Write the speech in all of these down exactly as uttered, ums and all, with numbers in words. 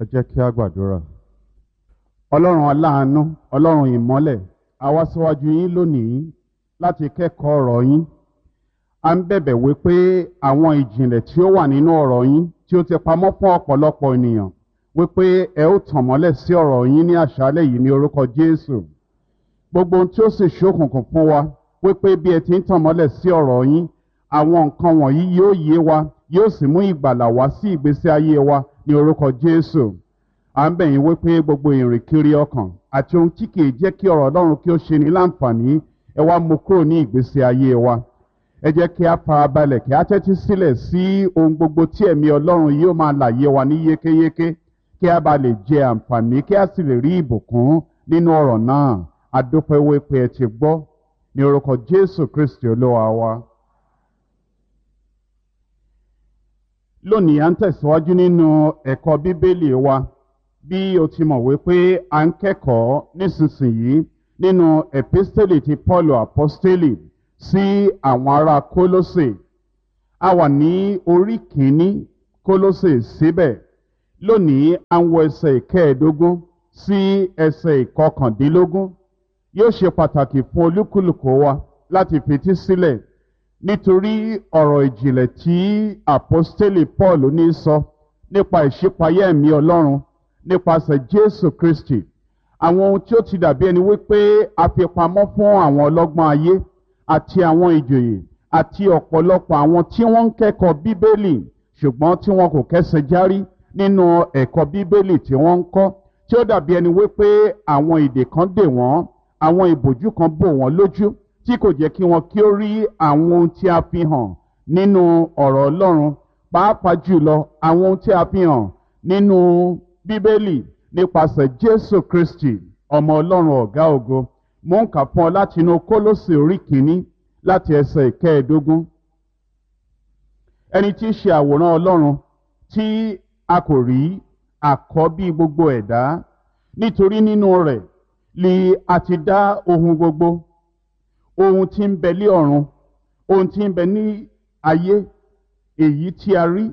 Ẹ jẹ́ kí a gbàdúrà. Ọlọ́run aláàánú, Ọlọ́run ìmọ́lẹ̀, a wá síwájú yín lónìí láti kẹ́kọ̀ọ́ ọ̀rọ̀ yín. A ń bẹ̀bẹ̀ wípé àwọn ìjìnlẹ̀ tí ó wà nínú ọ̀rọ̀ yín tí ó ti pamọ́ fún ọ̀pọ̀lọpọ̀ ènìyàn wípé ẹ ó tàn mọ́lẹ̀ sí ọ̀rọ̀ yín ní àṣálẹ̀ yìí ní orúkọ Jésù. Gbogbo ohun tí ó sì ṣókùnkùn fún wa wípé bí ẹ ti ń tàn mọ́lẹ̀ sí ọ̀rọ̀ yín, àwọn nǹkan wọ̀nyí yóò yé wa, yóò sì mú ìgbàlà wá sí ìgbésí ayé wa ní orúkọ Jésù. À ń bẹ̀ yín wípé gbogbo ìrìnkiri ọkàn àti ohun tí kìí jẹ́ kí ọ̀rọ̀ Ọlọ́run kí ó ṣe ní láǹfààní, ẹ wá mú kúrò ní ìgbésí ayé wa. Ẹ jẹ́ kí a farabalẹ̀ kí a tẹ́tí sílẹ̀ sí ohun gbogbo tí ẹ̀mí Ọlọ́run yóò máa làyé wa ní yékéyéké, kí a bá lè jẹ àǹfààní, kí a sì lè rí ìbùkún nínú ọ̀rọ̀ náà. A dúpẹ́ wípé ẹ ti gbọ́ ní orúkọ Jésù Kristi Olúwa wa. Lónìí à ń tẹ̀síwájú nínú ẹ̀kọ́ Bíbélì wa. Bí o ti mọ̀ wípé à ń kẹ́kọ̀ọ́ nísinsìnyí nínú episteli ti Paulu Aposteli sí àwọn ará Kólósè. A wà ní orí kìíní Kólósè síbẹ̀. Lónìí à ń wo ẹsẹ̀ ìkẹẹ̀ẹ́dógún sí ẹsẹ̀ ìkọkàndínlógún. Yóò ṣe pàtàkì fún olúkúlùkù wa láti fetí sílẹ̀ nítorí ọ̀rọ̀ ìjìnlẹ̀ tí Aposteli Paul ní sọ nípa ìṣípayá ẹ̀mí Ọlọ́run nípasẹ̀ Jésù Kristi. Àwọn ohun tí ó ti dàbí ẹni wípé a fi pamọ́ fún àwọn ọlọ́gbọ́n ayé àti àwọn ìjòyè àti ọ̀pọ̀lọpọ̀ àwọn tí wọ́n ń kẹ́kọ̀ọ́ Bíbélì ṣùgbọ́n tí wọn kò kẹ́sẹ̀ járí nínú ẹ̀kọ́ Bíbélì tí wọ́n ń kọ́, tí ó dàbí ẹni wípé àwọn ìdè kan dè wọ́n, àwọn ìbòjú kan bò wọ́n lójú tí kò jẹ́ kí wọn kí ó rí àwọn ohun tí a fi hàn nínú ọ̀rọ̀ Ọlọ́run, pàápàá jùlọ àwọn ohun tí a fi hàn nínú Bíbélì nípasẹ̀ Jésù Kristi ọmọ Ọlọ́run ọ̀gá ògo. Mo ń kà fún ọ láti inú Kólósè orí kìíní láti ẹsẹ̀ ìkẹẹ̀ẹ́dógún. Ẹni tí í ṣe àwòrán Ọlọ́run tí a kò rí, àkọ́bí gbogbo ẹ̀dá, nítorí nínú rẹ̀ li a ti dá ohun gbogbo, ohun tí ń bẹ ní ọ̀run, ohun tí ń bẹ ní ayé, èyí tí a rí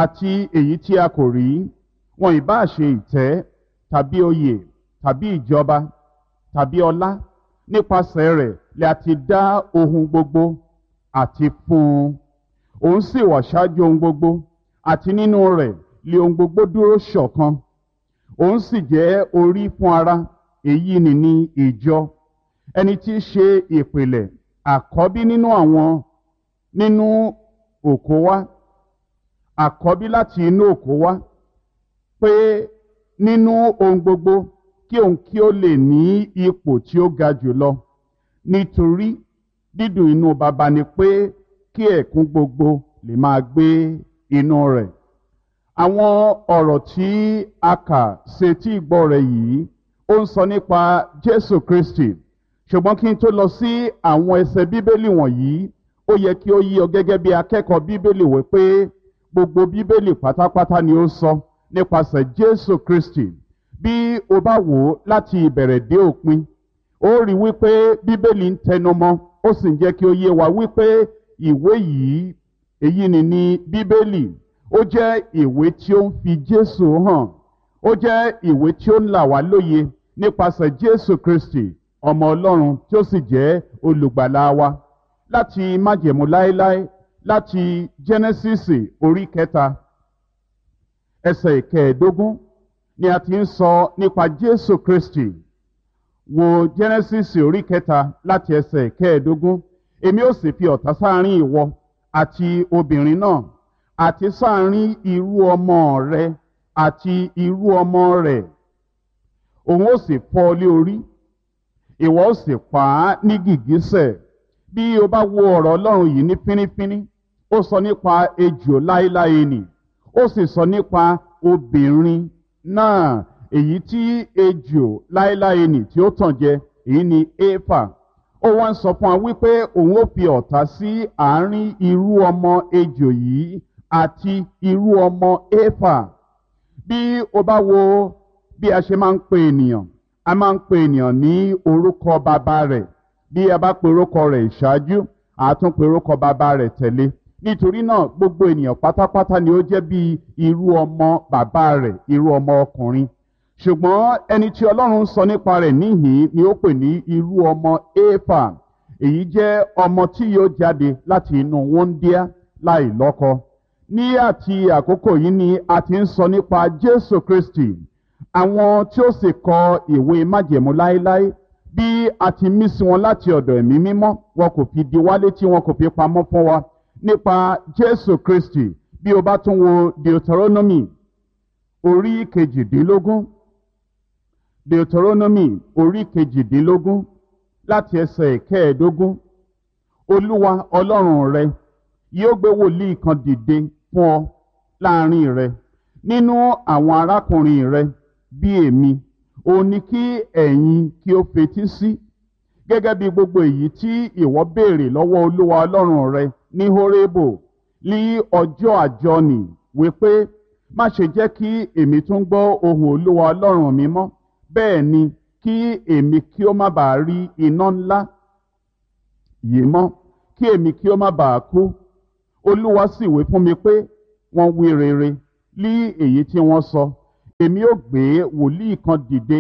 àti èyí tí a kò rí, wọn ìbá ṣe ìtẹ́ tàbí oyè tàbí ìjọba tàbí ọlá, nípasẹ̀ rẹ̀ li a ti dá ohun gbogbo àti fún un. Òun sì wà ṣáájú ohun gbogbo, àti nínú rẹ̀ li ohun gbogbo dúró ṣọ̀kan. Òun sì jẹ́ orí fún ara, èyí ni ní ìjọ, ẹni tí í ṣe ìpìlẹ̀ àkọ́bí nínú àwọn nínú òkú wá, àkọ́bí láti inú òkú wá, pé nínú ohun gbogbo kí òun kí ó lè ní ipò tí ó ga jùlọ. Nítorí dídùn inú Baba ni pé kí ẹ̀kún gbogbo lè máa gbé inú rẹ̀. Àwọn ọ̀rọ̀ tí a kà sétí ìgbọ́ rẹ̀ yìí ó ń sọ nípa Jésù Kristi. Ṣùgbọ́n kí n tó lọ sí àwọn ẹsẹ̀ Bíbélì wọ̀nyí, ó yẹ kí ó yé ọ gẹ́gẹ́ bí akẹ́kọ̀ọ́ Bíbélì wípé gbogbo Bíbélì pátápátá ni ó sọ nípasẹ̀ Jésù Kristi. Bí o bá wò ó láti ìbẹ̀rẹ̀ dé òpin, ó rí wípé Bíbélì ń tẹnumọ́, ó sì ń jẹ́ kí ó yé wa wípé ìwé yìí, èyí ni ní Bíbélì, ó jẹ́ ìwé tí ó ń fi Jésù hàn, ó jẹ́ ìwé tí ó ń là wá lóye nípasẹ̀ Jésù Kristi ọmọ Ọlọ́run tí ó sì jẹ́ olùgbàlà wa. Láti májẹ̀mú láéláé, láti Jẹ́nẹ́sísì orí kẹta ẹsẹ̀ ìkẹẹ̀ẹ́dógún ni a ti ń sọ nípa Jésù Kristi. Wo Jẹ́nẹ́sísì orí kẹta láti ẹsẹ̀ ìkẹẹ̀ẹ́dógún. Èmi ó sì fi ọ̀tá sáárín ìwọ àti obìnrin náà, àti sáárín irú ọmọ rẹ àti irú ọmọ rẹ̀. Òun ó sì fọ́ ọ lé orí, ìwọ ó sì pa á ní gìgísẹ̀. Bí o bá wo ọ̀rọ̀ Ọlọ́run yìí ní fínífíní, ó sọ nípa ejò láéláé nì, ó sì sọ nípa obìnrin náà, èyí tí ejò láéláé nì tí ó tàn jẹ, èyí ni Éfà. Ó wá ń sọ fún wa wípé òun ó fi ọ̀tá sí àárín irú ọmọ ejò yìí àti irú ọmọ Éfà. Bí o bá wo bí a ṣe máa ń pe ènìyàn, a máa ń pe ènìyàn ní orúkọ bàbá rẹ̀. Bí a bá pe orúkọ rẹ̀ ìṣáájú, a tún pe orúkọ bàbá rẹ̀ tẹ̀lé. Nítorí náà gbogbo ènìyàn pátápátá ni ó jẹ́ bí irú ọmọ bàbá rẹ̀, irú ọmọ ọkùnrin. Ṣùgbọ́n ẹni tí Ọlọ́run ń sọ nípa rẹ̀ níhìn-ín ni ó pè ní irú ọmọ Éfà. Èyí jẹ́ ọmọ tí yóò jáde láti inú wúńdíá láì lọ́kọ. Ní àti àkókò yìí ni a ti ń sọ nípa Jésù Kristi. Àwọn tí ó sì kọ ìwé májẹ̀mú láéláé, bí a ti mí sí wọn láti ọ̀dọ̀ Ẹ̀mí Mímọ́, wọn kò fi di wá létí, wọn kò fi pamọ́ fún wa nípa Jésù Kristi. Bí o bá tún wo Deuteronomy orí kejìdínlógún, Deuteronomy orí kejìdínlógún láti ẹsẹ̀ kẹẹ̀ẹ́dógún, Olúwa Ọlọ́run rẹ yóò gbé wòlíì kan dìde fún ọ láàrin rẹ nínú àwọn arákùnrin rẹ bí èmi, òun ni kí ẹ̀yin kí ó fetí sí, gẹ́gẹ́ bí gbogbo èyí tí ìwọ béèrè lọ́wọ́ Olúwa Ọlọ́run rẹ ní Hórébù ní ọjọ́ àjọni, wípé má ṣe jẹ́ kí èmi tún gbọ́ ohùn Olúwa Ọlọ́run mi mọ́, bẹ́ẹ̀ ni kí èmi kí ó má bàa rí iná ńlá yìí mọ́, kí èmi kí ó má bàa kú. Olúwa sì wí fún mi pé wọ́n wí rere lí èyí tí wọ́n sọ. Èmi ó gbé wòlíì kan dìde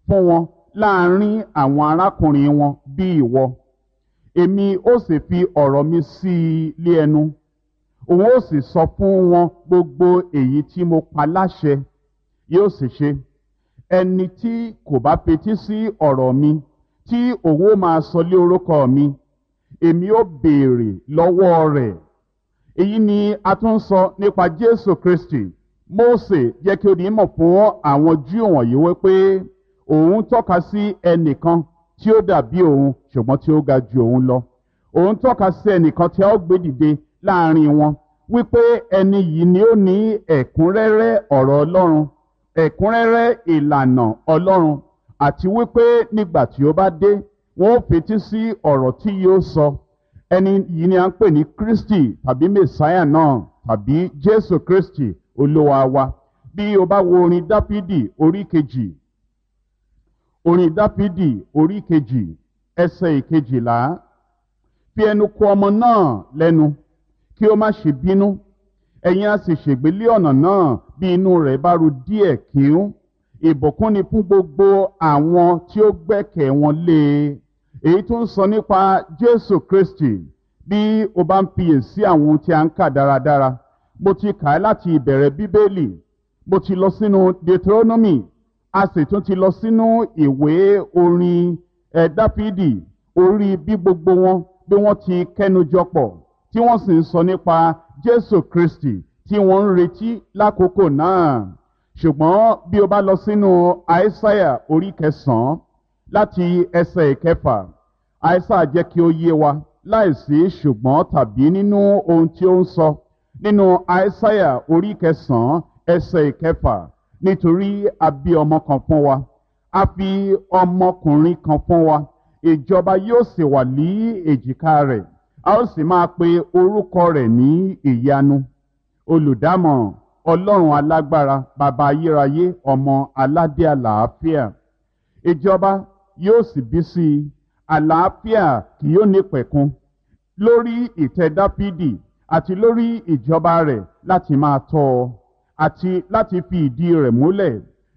fún wọn láàrin àwọn arákùnrin wọn bí ìwọ. Èmi ó sì fi ọ̀rọ̀ mi sí i lé ẹnu. Òun ó sì sọ fún wọn gbogbo èyí tí mo pa láṣẹ. Yóò sì ṣe. Ẹni tí kò bá fetí sí ọ̀rọ̀ mi, tí òun ó máa sọ lé orúkọ mi, èmi ó béèrè lọ́wọ́ rẹ̀. Èyí ni a tún sọ nípa Jésù Kristi. Mósè jẹ́ kí ó di mọ̀ fún àwọn Júù wọ̀nyí wípé òun tọ́ka sí ẹnìkan tí ó dàbí òun, ṣùgbọ́n tí ó ga ju òun lọ. Òun tọ́ka sí ẹnìkan tí a ó gbé dìde láàrin wọn, wípé ẹni yìí ni ó ní ẹ̀kúnrẹ́rẹ́ ọ̀rọ̀ Ọlọ́run, ẹ̀kúnrẹ́rẹ́ ìlànà Ọlọ́run, àti wípé nígbà tí ó bá dé, wọn ó fetí sí ọ̀rọ̀ tí yóò sọ. Ẹni yìí ni a ń pè ní Kristi tàbí Mèsáyà náà tàbí Jésù Kristi Olúwa wa. Bí o bá wo orin Dáfídì orí kejì, orin Dáfídì orí kejì ẹsẹ̀ ìkejìlá, fi ẹnu kò ọmọ náà lẹ́nu kí ó má ṣe bínú, ẹ̀yin a sì ṣègbé lé ọ̀nà náà bí inú rẹ̀ bá ru díẹ̀ kíún. Ìbùkún ni fún gbogbo àwọn tí ó gbẹ́kẹ̀ wọn lé e. Èyí tó ń sọ nípa Jésù Kristi. Bí o bá ń fiyèsí àwọn ohun tí a ń kà dáradára, mo ti kà á láti ìbẹ̀rẹ̀ Bíbélì, mo ti lọ sínú Deuteronomy, a sì tún ti lọ sínú ìwé orin ẹ̀ Dáfídì, orí bí gbogbo wọn bí wọ́n ti kẹ́nu jọpọ̀ tí wọ́n sì ń sọ nípa Jésù Kristi tí wọ́n ń retí lákòókò náà. Ṣùgbọ́n bí o bá lọ sínú Àìsáyà orí kẹsàn-án láti ẹsẹ̀ ìkẹfà, Àìsáyà jẹ́ kí ó yé wa láìsí ṣùgbọ́n tàbí nínú ohun tí ó ń sọ. Nínú Àìsáyà orí kẹsàn-án ẹsẹ̀ ìkẹfà, nítorí a bí ọmọ kan fún wa, a fi ọmọkùnrin kan fún wa, ìjọba yóò sì wà ní èjìká rẹ̀, a ó sì máa pe orúkọ rẹ̀ ní Ìyanu, Olùdámọ̀ràn, Ọlọ́run alágbára, Bàbá ayérayé, Ọmọ aládé àlàáfíà. Ìjọba yóò sì bí sí i, àlàáfíà kì yóò ní pẹ̀kun lórí ìtẹ́ Dáfídì àti lórí ìjọba rẹ̀, láti máa tọ́ ọ àti láti fi ìdí rẹ̀ múlẹ̀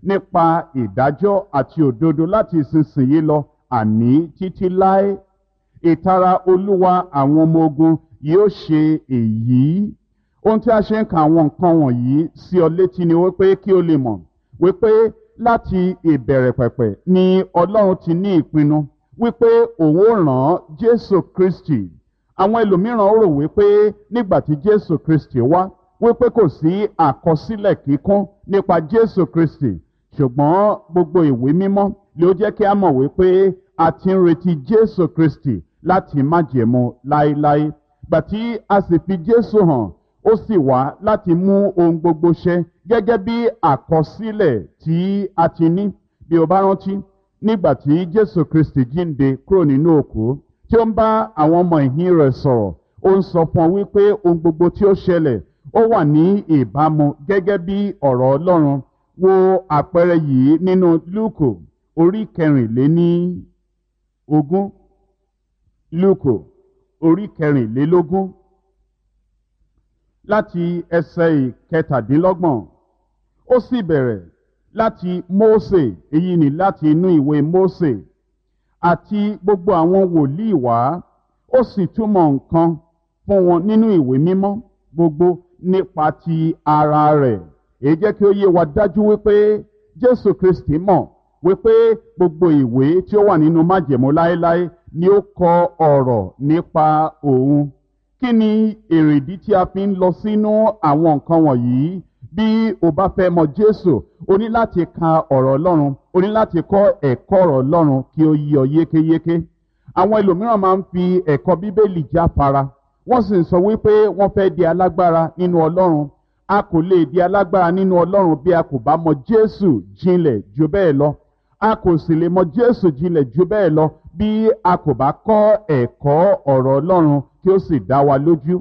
nípa ìdájọ́ àti òdodo láti ìsinsìnyí lọ, àní títí láé. Ìtara Olúwa àwọn ọmọ ogun yóò ṣe èyí. Ohun tí a ṣe ń ka àwọn nǹkan wọ̀nyí sí ọ létí ni wípé kí o lè mọ̀ wípé láti ìbẹ̀rẹ̀ pẹ̀pẹ̀ ni Ọlọ́run ti ní ìpinnu wípé òun ó rán Jésù Kristi. Àwọn ẹlòmíràn rò wípé nígbà tí Jésù Kristi wá, wípé kò sí àkọsílẹ̀ kíkún nípa Jésù Kristi. Ṣùgbọ́n gbogbo ìwé mímọ́ ló jẹ́ kí a mọ̀ wípé a ti ń retí Jésù Kristi láti májẹ̀mú láéláé. Gbà tí a sì fi Jésù hàn, ó sì wá láti mú ohun gbogbo ṣẹ gẹ́gẹ́ bí àkọsílẹ̀ tí a ti ní. Bí o bá rántí, nígbà tí Jésù Kristi jíǹde kúrò nínú òkú, tí ó ń bá àwọn ọmọ ìhín rẹ̀ sọ̀rọ̀, ó ń sọ fún ọ wípé ohun gbogbo tí ó ṣẹlẹ̀ ó wà ní ìbámu gẹ́gẹ́ bí ọ̀rọ̀ Ọlọ́run. Wo àpẹẹrẹ yìí nínú Lúùkù orí kẹrìnléní ogún. Lúùkù orí kẹrìnlélógún. láti ẹsẹ̀ ìkẹtàdínlọ́gbọ̀n. Ó sì bẹ̀rẹ̀ láti Mósè, èyí ni láti inú ìwé Mósè àti gbogbo àwọn wòlíì wá, ó sì túmọ̀ nǹkan fún wọn nínú ìwé mímọ́ gbogbo nípa ti ara rẹ̀. Èyí jẹ́ kí ó yé wa dájú wípé Jésù Kristi mọ̀ wípé gbogbo ìwé tí ó wà nínú májẹ̀mú láéláé ni ó kọ ọ̀rọ̀ nípa òun. Kí ni èrèdí tí a fi ń lọ sínú àwọn nǹkan wọ̀nyí? Bí o bá fẹ́ mọ Jésù, o ní láti ka ọ̀rọ̀ Ọlọ́run, o ní láti kọ́ ẹ̀kọ́ ọ̀rọ̀ Ọlọ́run kí ó yé ọ yékéyéké. Àwọn ẹlòmíràn máa ń fi ẹ̀kọ́ Bíbélì jáfara, wọ́n sì ń sọ wípé wọ́n fẹ́ di alágbára nínú Ọlọ́run. A kò lè di alágbára nínú Ọlọ́run bí a kò bá mọ Jésù jinlẹ̀ ju bẹ́ẹ̀ lọ. A kò sì lè mọ Jésù jinlẹ̀ ju bẹ́ẹ̀ lọ bí a kò bá kọ́ ẹ̀kọ́ ọ̀rọ̀ Ọlọ́run kí ó sì dá wa lójú.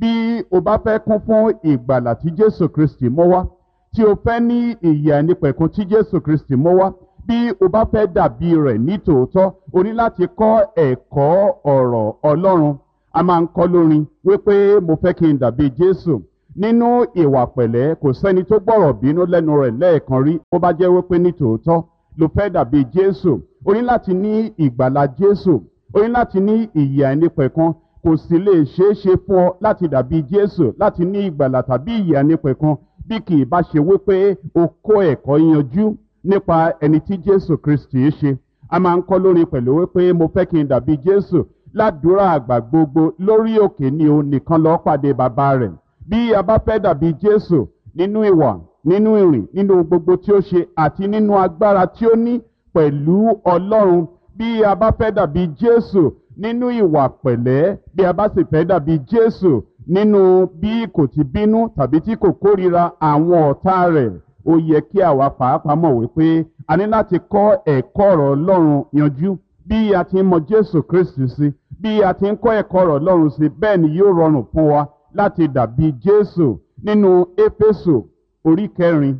Bí o bá fẹ́ kún fún ìgbàlà tí Jésù Kristi mú wá, tí o fẹ́ ní ìyè àìnípẹ̀kun tí Jésù Kristi mú wá, bí o bá fẹ́ dàbí rẹ̀ ní tòótọ́, o ní láti kọ́ ẹ̀kọ́ ọ̀rọ̀ Ọlọ́run. A máa ń kọ́ lórin wípé mo fẹ́ kí n dàbí Jésù nínú ìwà pẹ̀lẹ́. Kò sẹ́ni tó gbọ́rọ̀ bínú lẹ́nu rẹ̀ lẹ́ẹ̀kan rí. Bó bá jẹ́ wípé ní tòótọ́ ló fẹ́ dàbí Jésù, o ní láti ní ìgbàlà Jésù, o ní láti ní ìyè àìnípẹ̀kun. Kò sì lè ṣeé ṣe fún ọ láti dàbí Jésù, láti ní ìgbàlà tàbí ìyè àìnípẹ̀kun, bí kì í bá ṣe wípé o kó ẹ̀kọ́ yanjú nípa ẹni tí Jésù Kristi ṣe. A máa ń kọ́ lórin pẹ̀lú wípé mo fẹ́ kí n dàbí Jésù ládùúrà àgbà gbogbo lórí òkè ni òun nìkan lọ́ọ́ pàdé bàbá rẹ̀. Bí a bá fẹ́ dàbí Jésù nínú ìwà, nínú ìrìn, nínú gbogbo tí ó ṣe àti nínú agbára tí ó ní pẹ̀lú Ọlọ́run, bí a bá fẹ́ dàbí Jésù nínú ìwà pẹ̀lẹ́, bí a bá sì fẹ́ dàbí Jésù nínú bí kò ti bínú tàbí tí kò kórìíra àwọn ọ̀tá rẹ̀, ó yẹ kí àwa pàápàá mọ̀ wípé a ní láti kọ́ ẹ̀kọ́ ọ̀rọ̀ Ọlọ́run yanjú. Bí a ti ń mọ Jésù Kristi sí, bí a ti ń kọ́ ẹ̀kọ́ ọ̀rọ̀ Ọlọ́run sí, bẹ́ẹ̀ ni yóò rọrùn fún wa láti dàbí Jésù. Nínú Éfésù orí kẹrin,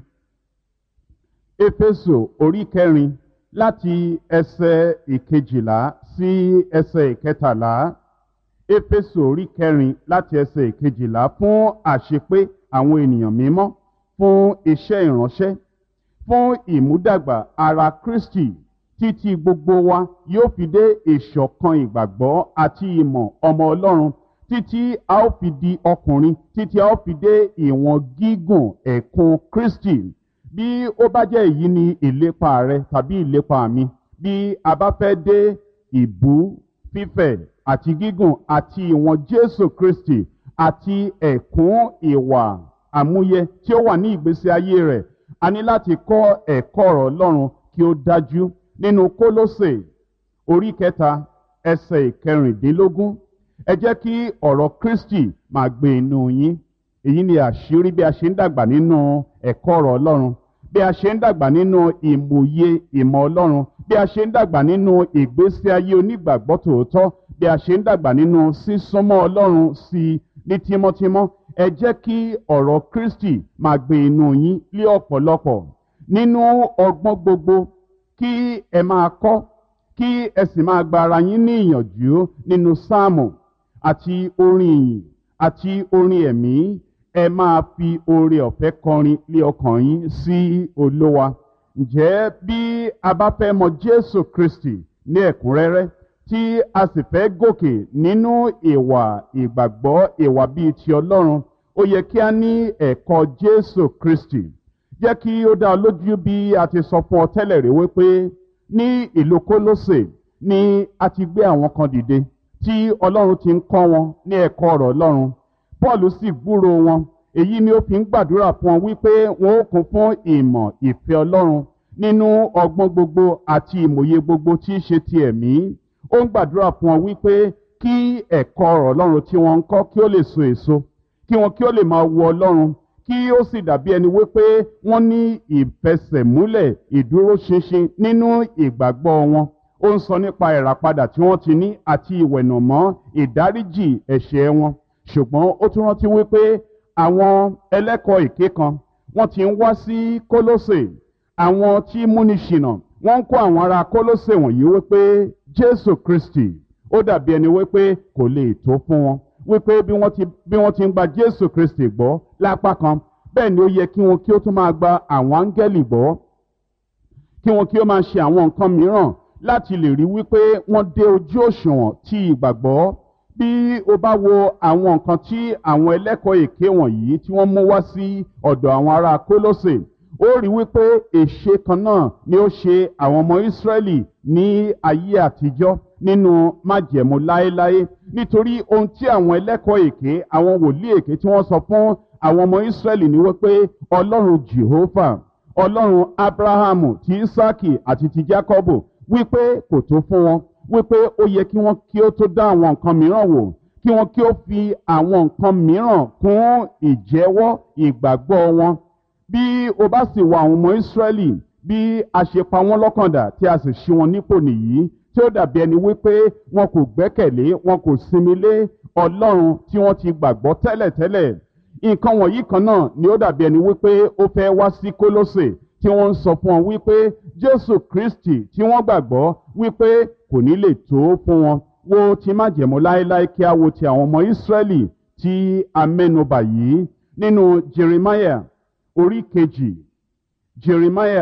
Éfésù orí kẹrin láti ẹsẹ̀ ìkejìlá sí ẹsẹ̀ ìkẹtàlá. Éfésù orí kẹrin láti ẹsẹ̀ ìkejìlá: fún àṣepé àwọn ènìyàn mímọ́, fún iṣẹ́ ìránṣẹ́, fún ìmúdàgbà ara Kristi, títí gbogbo wa yóò fi dé ìṣọ̀kan ìgbàgbọ́ àti ìmọ̀ ọmọ Ọlọ́run, títí a ó fi di ọkùnrin, títí a ó fi dé ìwọ̀n gígùn ẹ̀kún Kristi. Bí ó bá jẹ́ èyí ni ìlépa rẹ tàbí ìlépa mi, bí a bá fẹ́ dé ìbú fífẹ̀ àti gígùn àti ìwọ̀n Jésù Kristi àti ẹ̀kún ìwà àmúyẹ tí ó wà ní ìgbésí ayé rẹ̀, a ní láti kọ́ ẹ̀kọ́ ọ̀rọ̀ Ọlọ́run kí ó dájú. Nínú Kólósè orí kẹta ẹsẹ̀ ìkẹrìndínlógún, ẹ jẹ́ kí ọ̀rọ̀ Kristi máa gbé inú yín. Èyí ni àṣírí bí a ṣe ń dàgbà nínú ẹ̀kọ́ ọ̀rọ̀ Ọlọ́run, bí a ṣe ń dàgbà nínú ìmòye ìmọ̀ Ọlọ́run, bí a ṣe ń dàgbà nínú ìgbésí ayé onígbàgbọ́ tòótọ́, bí a ṣe ń dàgbà nínú sísúnmọ́ Ọlọ́run sí i ní tímọ́tímọ́. Ẹ jẹ́ kí ọ̀rọ̀ Kristi máa gbé inú yín lé ọ̀pọ̀lọpọ̀ nínú ọgbọ́n gbogbo, kí ẹ máa kọ́, kí ẹ sì máa gba ara yín ní ìyànjú nínú sáàmù àti orin ìyìn àti orin ẹ̀mí. Ẹ máa fi oore ọ̀fẹ́ kọrin lé ọkàn yín sí Olúwa. Ǹjẹ́ bí a bá fẹ́ mọ Jésù Kristi ní ẹ̀kúnrẹ́rẹ́, tí a sì fẹ́ gòkè nínú ìwà ìgbàgbọ́, ìwà bíi ti Ọlọ́run, ó yẹ kí a ní ẹ̀kọ́ Jésù Kristi. Jẹ́ kí ó dá ọ lójú bí a ti sọ fún ọ tẹ́lẹ̀ rí wípé ní ìlú Kólósè ni a ti gbé àwọn kan dìde tí Ọlọ́run ti ń kọ́ wọn ní ẹ̀kọ́ ọ̀rọ̀ Ọlọ́run. Paul sì gbúrò wọn. Èyí ni ó fi ń gbàdúrà fún wọn wípé wọn ó kún fún ìmọ̀ ìfẹ́ Ọlọ́run nínú ọgbọ́n gbogbo àti ìmòye gbogbo tí í ṣe ti ẹ̀mí. Ó ń gbàdúrà fún wọn wípé kí ẹ̀kọ́ ọ̀rọ̀ Ọlọ́run tí wọ́n ń kọ́ kí ó lè so èso, kí wọn kí ó lè máa wo Ọlọ́run, kí ó sì dàbí ẹni wípé wọ́n ní ìfẹsẹ̀múlẹ̀ ìdúróṣinṣin nínú ìgbàgbọ́ wọn. Ó ń sọ nípa ìràpadà tí wọ́n ti ní àti ìwẹ̀nàmọ́ ìdáríjì ẹ̀ṣẹ̀ wọn. Ṣùgbọ́n ó tún rántí wípé àwọn ẹlẹ́kọ̀ọ́ èké kan wọ́n ti ń wá sí Kólósè, àwọn tí múni ṣìnà. Wọ́n ń kó àwọn ará Kólósè wọ̀nyí wípé Jésù Kristi ó dàbí ẹni wípé kò lè tó fún wọn. wípé bí wọ́n ti bí wọ́n ti ń gba Jésù Kristi gbọ́ lápá kan, bẹ́ẹ̀ ni ó yẹ kí wọn kí ó tún máa gba àwọn áńgẹ́lì gbọ́, kí wọn kí ó máa ṣe àwọn nǹkan mìíràn láti lè rí wípé wọ́n dé ojú òṣùwọ̀n ti ìgbàgbọ́. Bí o bá wo àwọn nǹkan tí àwọn ẹlẹ́kọ̀ọ́ èké wọ̀nyí tí wọ́n mú wá sí ọ̀dọ̀ àwọn ará Kólósè, ó rí wípé èṣe kan náà ni ó ṣe àwọn ọmọ Ísírẹ́lì ní ayé àtijọ́ nínú májẹ̀mú láéláé, nítorí ohun tí àwọn ẹlẹ́kọ̀ọ́ èké, àwọn wòlíì èké tí wọ́n sọ fún àwọn ọmọ Ísírẹ́lì ni wípé Ọlọ́run Jèhófà, Ọlọ́run Ábúráhámù, ti Ísákì àti ti Jákọ́bù, wípé kò tó fún wọn, wípé ó yẹ kí wọ́n kí ó tó dá àwọn nǹkan mìíràn wò, kí wọ́n kí ó fi àwọn nǹkan mìíràn kún ìjẹ́wọ́ ìgbàgbọ́ wọn. Bí o bá sì wo àwọn ọmọ Ísírẹ́lì, bí a ṣe pa wọ́n lọ́kàndà tí a sì ṣí wọn nípò nìyí, tí ó dàbí ẹni wípé wọn kò gbẹ́kẹ̀lé, wọn kò sinmi lé Ọlọ́run tí wọ́n ti gbàgbọ́ tẹ́lẹ̀tẹ́lẹ̀. Nǹkan wọ̀nyí kan náà ni ó dàbí ẹni wípé ó fẹ́ wá sí Kólósè, tí wọ́n ń sọ fún wọn wípé Jésù Kristi tí wọ́n gbàgbọ́ wípé kò ní lè tó fún wọn. Wo ti májẹ̀mú láéláé, kí a wo ti àwọn ọmọ Ísírẹ́lì tí a mẹ́nubà yìí nínú Jeremiah orí kejì. Jeremiah